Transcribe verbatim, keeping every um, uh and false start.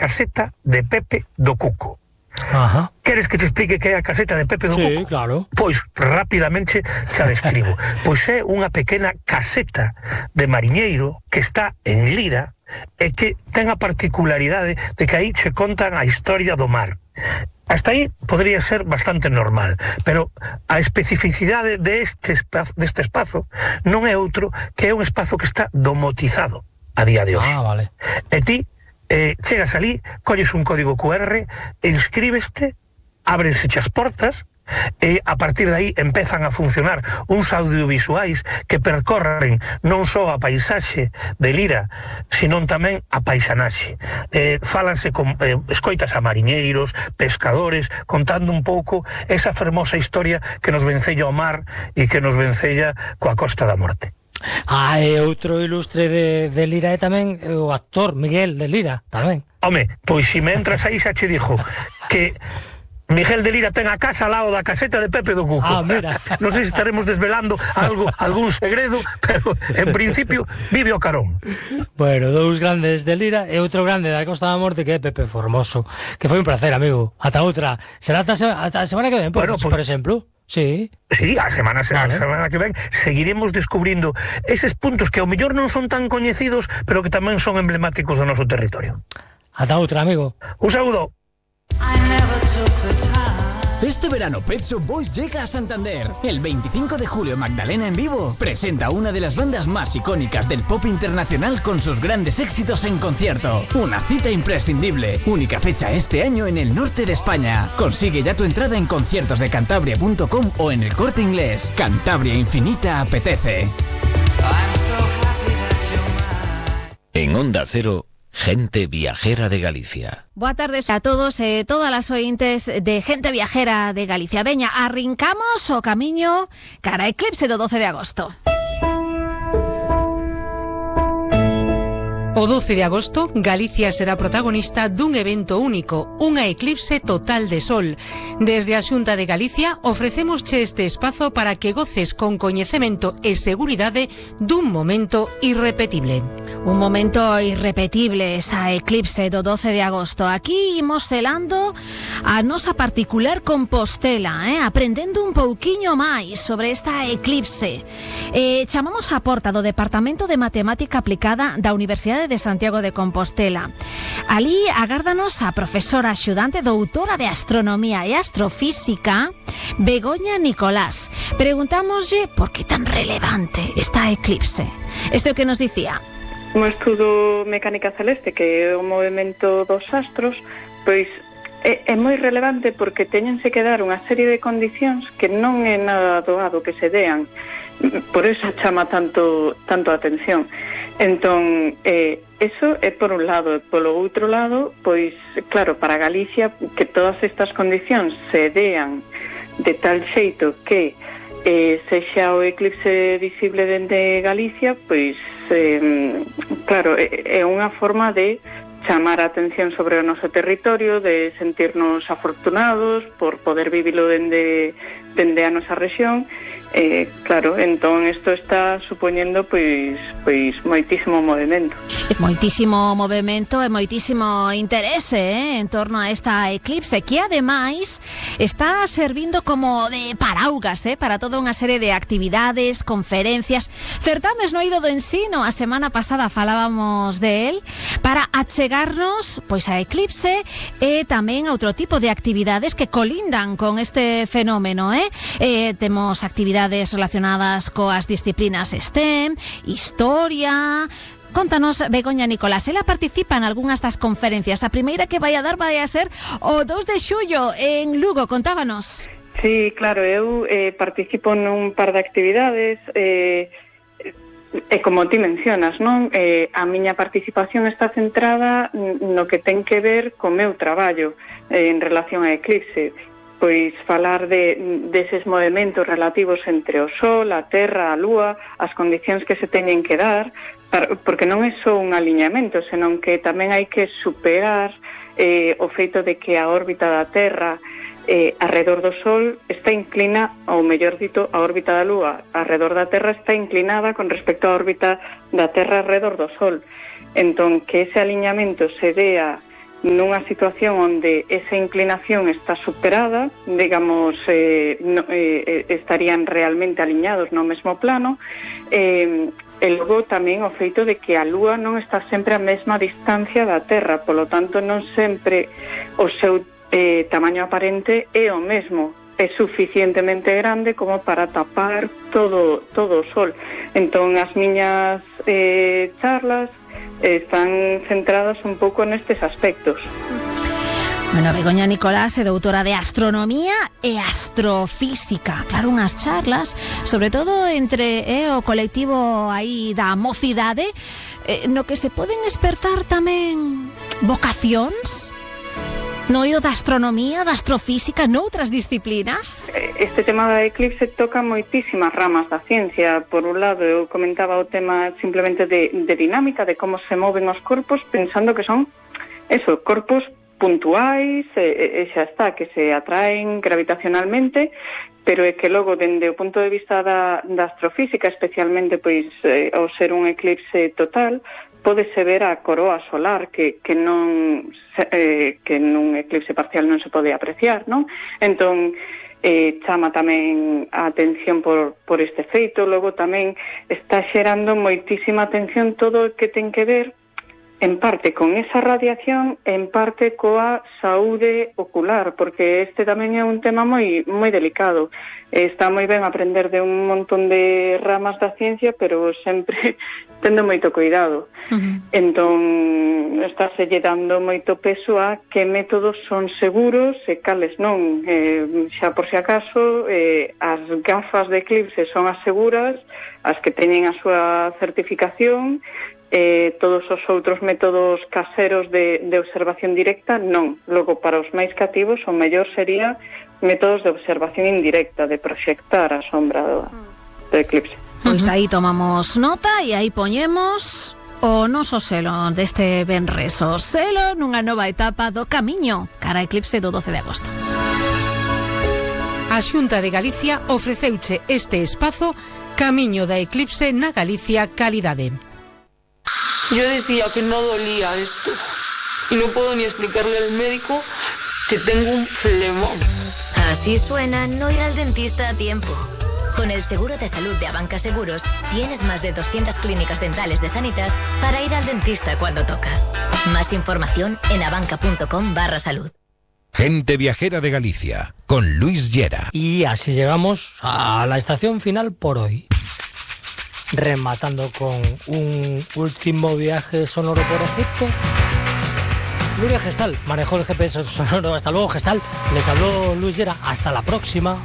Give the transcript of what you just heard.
caseta de Pepe do Cuco. Ajá. Queres que te explique que é a caseta de Pepe do Sí, Cuco? claro. Pois rapidamente xa describo. Pois é unha pequena caseta de mariñeiro que está en Lira e que ten a particularidade de que aí che contan a historia do mar. Hasta aí podría ser bastante normal, pero a especificidade deste espazo, deste espazo non é outro que é un espazo que está domotizado a día de hoxe. Ah, vale. E ti eh, chegas ali, colles un código cu erre, inscríbeste, ábrense as portas, e a partir de aí empezan a funcionar uns audiovisuais que percorren non só a paisaxe de Lira, senón tamén a paisanaxe. Eh, fálanse con, eh, escoitas a mariñeiros, pescadores, contando un pouco esa fermosa historia que nos vencella o mar e que nos vencella coa Costa da Morte. Ah, e outro ilustre de, de Lira é tamén o actor Miguel de Lira, tamén. Home, pois se me entras aí xa che dixo que Miguel de Lira ten a casa ao lado da caseta de Pepe do Cuco. Ah, mira. Non sei se estaremos desvelando algo, algún segredo, pero en principio vive o carón. Bueno, dous grandes de Lira e outro grande da Costa da Morte que é Pepe Formoso, que foi un placer, amigo. Ata outra. Será ata, ata a semana que ven, por, Bueno, pues, por exemplo. Sí. Sí, a semana, vale. a semana que ven seguiremos descubrindo eses puntos que ao mellor non son tan coñecidos, pero que tamén son emblemáticos do noso territorio. Ata outra, amigo. Un saúdo. Este verano Pet Shop Boys llega a Santander. El veinticinco de julio Magdalena en vivo presenta una de las bandas más icónicas del pop internacional con sus grandes éxitos en concierto. Una cita imprescindible. Única fecha este año en el norte de España. Consigue ya tu entrada en conciertos de cantabria punto com o en el Corte Inglés. Cantabria Infinita apetece. En Onda Cero, Gente Viajera de Galicia. Boa tardes a todos e eh, todas as ointes de Gente Viajera de Galicia. Veña, arrincamos o camiño cara a eclipse do doce de agosto. O doce de agosto, Galicia será protagonista dun evento único, unha eclipse total de sol. Desde a Xunta de Galicia ofrecémosche este espazo para que goces con coñecemento e seguridade dun momento irrepetible. Un momento irrepetible, esa eclipse do doce de agosto. Aquí imos selando a nosa particular Compostela, eh? aprendendo un pouquiño máis sobre esta eclipse. Eh, chamamos a porta do Departamento de Matemática Aplicada da Universidade de Santiago de Compostela. Alí agárdanos a profesora axudante doutora de Astronomía e Astrofísica, Begoña Nicolás. Preguntámoslle por que tan relevante esta eclipse. Isto é o que nos dicía. Un estudo mecánica celeste, que é o movimento dos astros, pois é, é moi relevante porque teñense que dar unha serie de condicións que non é nada doado que se dean. Por eso chama tanto tanto a atención. Entón, eh, eso é por un lado. Polo outro lado, pois, claro, para Galicia, que todas estas condicións se dean de tal xeito que eh, sexa o eclipse visible dende Galicia, pois, eh, claro, é, é unha forma de chamar a atención sobre o noso territorio, de sentirnos afortunados por poder vivilo dende, dende a nosa rexión. Eh, claro, entón isto está supoñendo pois pois moitísimo movimento. Moitísimo movimento e moitísimo interese eh, en torno a esta eclipse que ademais está servindo como de paraugas eh, para toda unha serie de actividades, conferencias, certames no eido do ensino. A semana pasada falábamos de él para achegarnos pois a eclipse e tamén a outro tipo de actividades que colindan con este fenómeno. Eh? Eh, temos actividades relacionadas coas disciplinas STEM, historia. Contanos, Begoña Nicolás, ela participa en algunhas das conferencias. A primeira que vai a dar vai a ser o dos de xullo en Lugo, contábanos. Sí, claro, eu eh, participo nun par de actividades eh, e como ti mencionas, non? Eh, a miña participación está centrada no que ten que ver co meu traballo eh, en relación a eclipse. Pois falar de deses movimentos relativos entre o Sol, a Terra, a Lúa, as condicións que se teñen que dar, para, porque non é só un aliñamento, senón que tamén hai que superar eh, o feito de que a órbita da Terra eh, arredor do Sol está inclina, ou mellor dito, a órbita da Lúa arredor da Terra está inclinada con respecto á órbita da Terra arredor do Sol. Entón, que ese aliñamento se dea nunha situación onde esa inclinación está superada, digamos, eh, no, eh, estarían realmente aliñados no mesmo plano, eh, e logo tamén o feito de que a Lúa non está sempre a mesma distancia da Terra, polo tanto non sempre o seu eh, tamaño aparente é o mesmo, é suficientemente grande como para tapar todo, todo o Sol. Entón as miñas eh, charlas están centradas un pouco nestes aspectos. Bueno, Begoña Nicolás é doutora de Astronomía e Astrofísica. Claro, unhas charlas, sobre todo entre eh, o colectivo aí da mocidade, eh, no que se poden espertar tamén vocacións no eido da astronomía, da astrofísica, noutras disciplinas. Este tema da eclipse toca moitísimas ramas da ciencia. Por un lado, eu comentaba o tema simplemente de, de dinámica, de como se moven os corpos, pensando que son, eso, corpos puntuais, e, e xa está, que se atraen gravitacionalmente, pero é que logo, dende o punto de vista da, da astrofísica, especialmente, pois, eh, ao ser un eclipse total, pódese ver a coroa solar que, que non eh, que nun eclipse parcial non se pode apreciar, non? Entón, eh, chama tamén a atención por, por este feito. Logo tamén está xerando moitísima atención todo o que ten que ver en parte con esa radiación, en parte coa saúde ocular, porque este tamén é un tema moi moi delicado. Está moi ben aprender de un montón de ramas da ciencia, pero sempre tendo moito cuidado. Uh-huh. Entón, estáse lle dando moito peso a que métodos son seguros e cales non. Eh, xa por si acaso, eh, as gafas de eclipse son as seguras, as que teñen a súa certificación, Eh, todos os outros métodos caseros de, de observación directa non. Logo, para os máis cativos, o mellor sería métodos de observación indirecta, de proxectar a sombra do, do eclipse. Pois aí tomamos nota e aí poñemos o noso selo deste venres, o selo nunha nova etapa do camiño cara a eclipse do doce de agosto. A Xunta de Galicia ofreceuche este espazo Camiño da Eclipse na Galicia Calidade. Yo decía que no dolía esto y no puedo ni explicarle al médico que tengo un problema. Así suena no ir al dentista a tiempo. Con el seguro de salud de Abanca Seguros tienes más de doscientas clínicas dentales de Sanitas para ir al dentista cuando toca. Más información en abanca.com barra salud. Gente Viajera de Galicia, con Luis Llera. Y así llegamos a la estación final por hoy. Rematando con un último viaje sonoro por Egipto. Nuria Gestal manejó el G P S sonoro. Hasta luego, Gestal. Les habló Luis Llera. Hasta la próxima.